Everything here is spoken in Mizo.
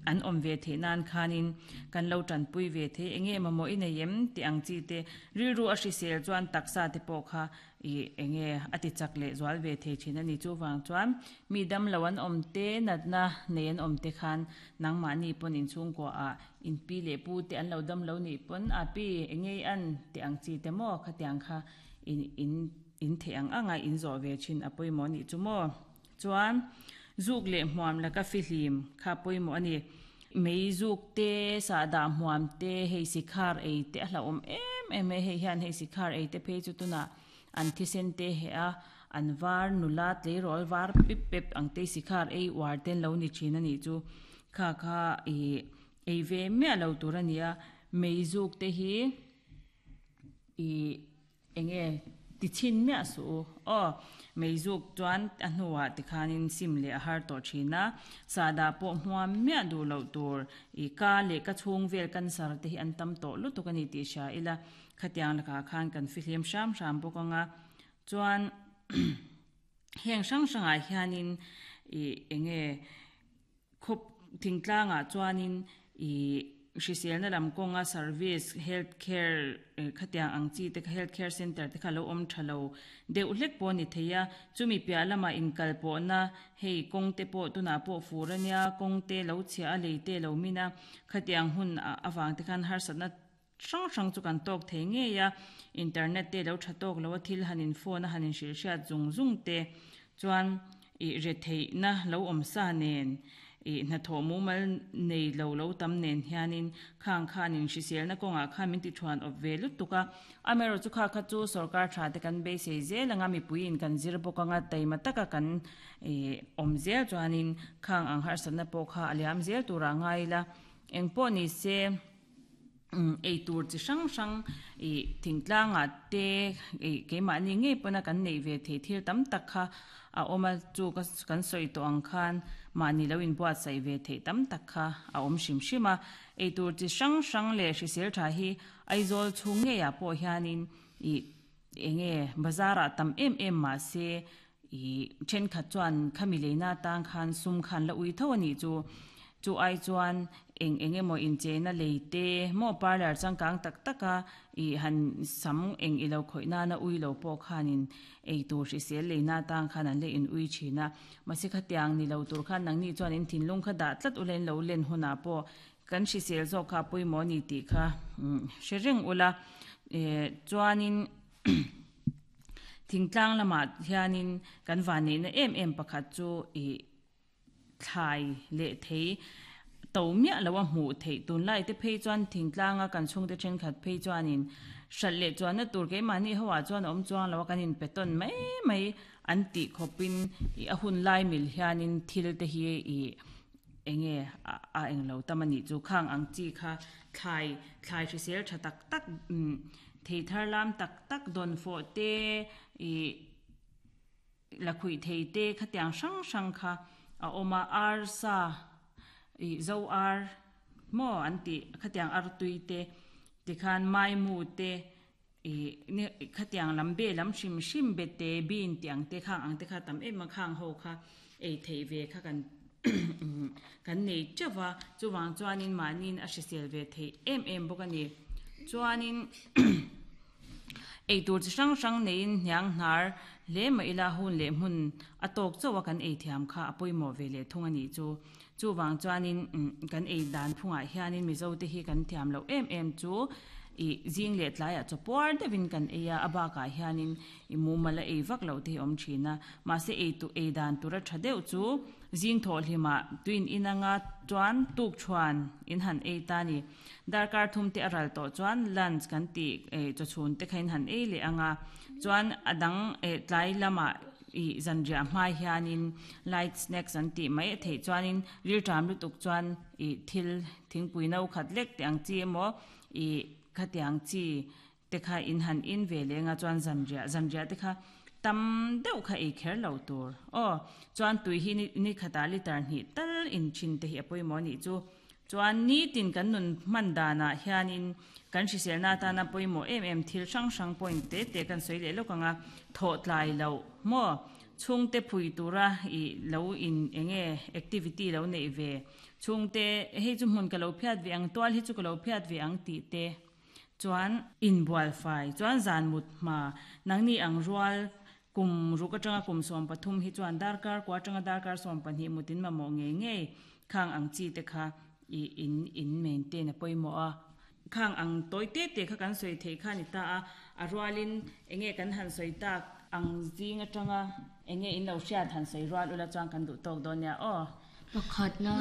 an awm ve theih nan khanin kan lo tanpui ve thei enge mamawh i nei em tih ang chi te rilru a hrisel chuan taksa te pawh kha ih enge a ti chak leh zual ve thei thin a ni. Chuvang chuan mi damlo an awm te natna nei an awm te khan nangmahni pawn inchhungkua ah in pi leh pu te an lo damlo nih pawn a pi enge i an tih ang chi te maw khatiang kha in in in theih ang ang a in zawh ve thin a pawimawh a nih chu maw. Chuan zuk leh hmuam laka fihlim kha pawimawh a ni. Mei zuk te, sahdah hmuam te, hei sikhar ei te a hlauhawm em em e. Hei hian hei sikhar ei te phei chu tunah an thisen te heh a, an var nula tleirawl var pip pep ang te sikhar ei uar te an lo ni thin a nih chu. Kha kha ih ei ve miah lo tur a ni a. Mei zuk te hi ih. Enge ti chhin miah suh u. Aw, meizuk chuan a hnuah tikhanin sim leh a har tawh thin a, sahdah pawh hmuam miah duh loh tur i ka leh ka chhung vel cancer te hi an tam tawh lutuk a ni tih hria ila, khatiang lakah khan kan fihlim hram hram bawk ang a, chuan heng hrang hrangah hianin i enge Khawp thingtlangah chuanin ih hriselna lam kawnga service health care khatiang ang chi te kha health care centre te kha lo awm tha lo deuh hlek pawh a ni thei a, chumi piah lamah inkal pawhna hei kawng te pawh tunah pawh fur a nia kawng te lo chhia a lei te lo min a khatiang hun avang te khan harsatna hrang hrang chu kan tawk thei ngei a, internet te lo tha tawk lo a thil han in phone a han in hrilh hriat zung zung te chuan ih retheihna lo awm sa nen ih hnathawh mumal nei lo lo tam nen hianin khang khanin hriselna kawngah khan min ti thuan awp ve lutuk a, amaherawhchu kha kha chu sorkar tha te kan beisei zel anga mipuiin kan zir bawk anga taima taka kan ih awm zel chuanin khang ang harsatna pawh kha a liam zel turah ngai ila engpawh ni se. Eitur chi hrang hrang ih thingtlangah te ih keimahni ngei pawna kan neih ve theih thil tam tak kha a awm a, chu ka kan sawi tawh ang khan mahni lo inbuatsaih ve theih tam tak kha a awm hrim hrim a. Eitur chi hrang hrang leh hrisel tha hi Aizawl chhung ngeiah pawh hianin ih eng nge bazar ah tam em em mahse Ih, thenkhat chuan khami leina atang khan sum khan la ui tho a nih chu. Chu ai chuan eng eng emaw incheina lei te maw parlour changkang tak taka ih han sam eng i lo khawih nana ui lo pawh khanin ei tur hrisel leina atang khan an la in ui thin a. Mahse khatiang ni lo tur khan nangni chuan in thinlung kha dah tlat ula in lo len hunah pawh kan hrisel zawk kha a pawimawh a ni tih kha hre reng ula. Eh, chuanin. Thingtlang lamah hianin kan vanneihna em em pakhat chu ih thlai leh thei to miah lo a hmuh theih tunlai te phei chuan thingtlanga kan chhungte thenkhat phei chuanin hralh leh chuanna tur keimahni ho ah chuan a awm chuang lo a kan inpe tawn mai mai an tih khawpin ih a hun lai mil hianin thil te hi ih eng nge a eng lo tam a nih chu khang ang chi kha thlai thlai hrisel tha tak tak umm. Thei thar lam tak tak dawn fawh te, ih lakhuih thei te khatiang hrang hrang kha a awm a, arsa ih zo ar maw an tih khatiang artui te tikhan maimu te ih khatiang lam be lam hrim hrim be te bean tih ang te khang ang te kha tam em a khang ho kha ei theih ve kha kan kan nei teuh va, chuvang chuanin mahniin a hrisel ve theih em em bawk a ni. Chuanin eitur chi hrang hrang neiin hniang hnar hle mah ila hun leh hmun a tawk chauh a kan ei thiam kha a pawimawh ve leh thung a nih chu. Chuvang chuanin kan ei dan phungah hianin Mizote hi kan thiam loh em em chu ih zing leh tlaiah chaw puar deuhin kan ei a, a bakah hianin i mumal a ei vak loh te hi a awm thin a. Mahse ei tu ei dan tura tha deuh chu zing thawhhlimah tuin in anga chuan tuk thuan in han ei ta a ni. Darkar thum te a ral tawh chuan lunch kan tih chawchhun te kha in han ei leh anga chuan a dang tlai lamah ih zanriah hma hianin light snacks an tih mai a theih chuanin rilṭam lutuk chuan ih thil thingpui no khat lek teh ang chi emaw ih khatiang chi te kha in han in ve leh anga chuan zanriah zanriah te kha tam deuh kha ei kher lo tur aw chuan tui hi ni khatah liter hnih tal in thin te hi a pawimawh a nih chu chuan nitin kan nun hman danah hianin kan hriselna atana pawimawh em em thil hrang hrang point te te kan sawi leh lawk ang a thawh tlai loh maw. Chhungte phui tura i lo in enge activity lo neih ve. Chhungte hei chu hmun ka lo phiat ve ang, tual hi chu ka lo phiat ve ang tih te chuan inbual fai chuan zan mut hma nangni ang rual kum ruk atanga kum 13 hi chuan darkar kua atanga darkar 12 mutin mamawh ngei ngei khang ang chi te kha i in in maintain a pawimawh a. Khang ang tawi te te kha kan sawi theih kha a ni ta a, a rualin enge kan han sawi tak ang zing atanga enge in lo hriat han sawi rual ula chuan kan duh tawk dawn nia aw. Pakhatna.